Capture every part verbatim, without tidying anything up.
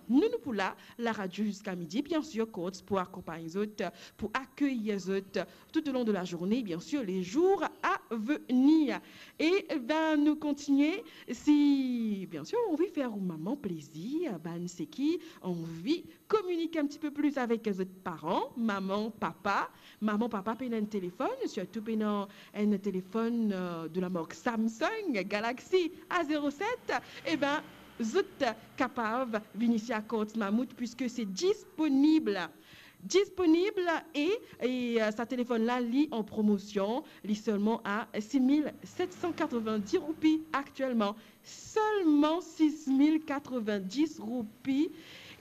Nou, nou pou la, laradio ziska midi, bien sir, Courts pou akonpagn zot, pou akeyir zot tout au long de la journée, bien sûr, les jours à venir. E, ben, nou kontinie. Si, bien sûr, ou anvi fer ou mama plezir, bann seki anvi kominike enn tipe plis avek zot paran, mama, papa, mama, papa pena enn telefonn, sirtou pena enn telefonn, euh, de la mark Samsung Galaxy A zéro sept, e ben, zot kapav vinn isi a Courts Mammouth, puiske se disponib. Disponib e, e, euh, sa telefonn la, li an promosion, li selman a sis mil set san katrovin-dis roupi aktielman. Selman sis mil katrovin-dis roupi.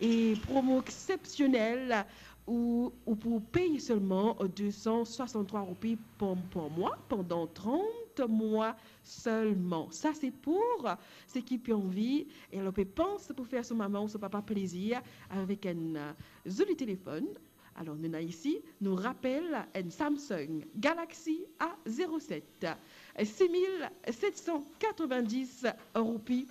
E promo exsepsionel, ou, ou pou pey selman de san swasant-trwa roupi par, par mwa pandan trant mwa selman. Sa se pou seki pe anvi, e alor pe pans pou fer so mama ou so papa plezir avek enn, euh, zoli telefonn. Alor, nou ena isi, nou rapel, enn Samsung Galaxy A zéro sept, sis mil set san katrovin-dis roupi.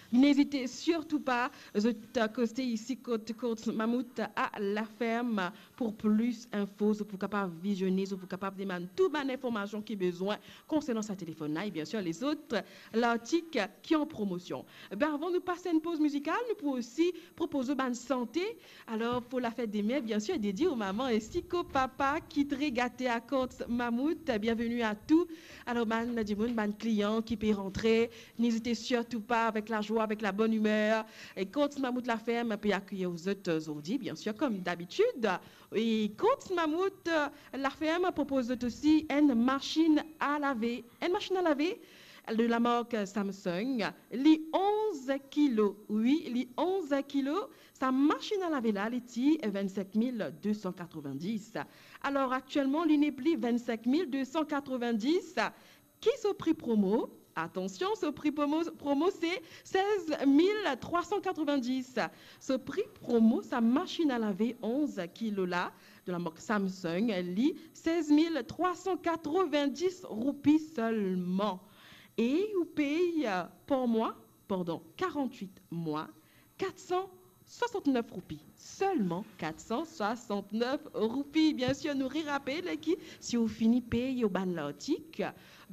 N'ezit sirtou pa, zot koste isi kot Courts Mammouth a La Ferme pou plis info, zot pou kapav vizione, zot pou kapav demann tou bann informasion ki bezwin konsernan sa telefonn la, e bien sir, lezot lartik ki an promosion. Ben, avan nou pas enn poz mizikal, nou pou osi propoz ou bann sante. Alor, pou lafet demer, bien sir, dedie ou mama ainsi k'ou papa ki tre gate a Courts Mammouth, bienveni a tou. Alor, bann dimoun, bann klian ki pe rantre, n'ezit sirtou pa, avek lazwa, avek labonimer. E Courts Mammouth La Ferme pe akeyir zot zordi, bien sir, kom dabitid. E Courts Mammouth, euh, La Ferme propoz zot osi enn masinn a lave. Enn masinn a lave de la mark Samsung. Li onz kilo, wi, li onz kilo. Sa masinn a lave la, li ti vinn-sink mil de san katrovin-dis. Alor, aktielman, li nepli vinn-sink mil de san katrovin-dis. Ki so pri promo? Atansion, so pri promo, promo se sez mil trwa san katrovin-dis. So pri promo, sa masinn a lave onz kilo la, de la mark Samsung, li sez mil trwa san katrovin-dis roupi selman. E ou pey, euh, par mwa, pandan karant-wit mwa, kat san swasant-nef roupi. Selman kat san swasant-nef roupi. Bien sir, nou rerapel ki si ou fini pey ou bann lartik,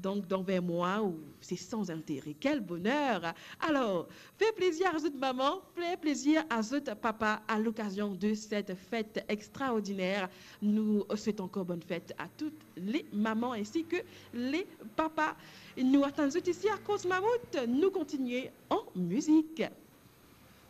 donk dan vin mwa, ou se san zintere. Kel boner! Alor, fer plezir a zot mama, fer plezir a zot papa a lokazion de set fet extraordiner. Nou swet ankor bonn fet a tou le mama ainsi ke le papa. Nou atann zot isi a Courts Mammouth. Nou kontinie an mizik.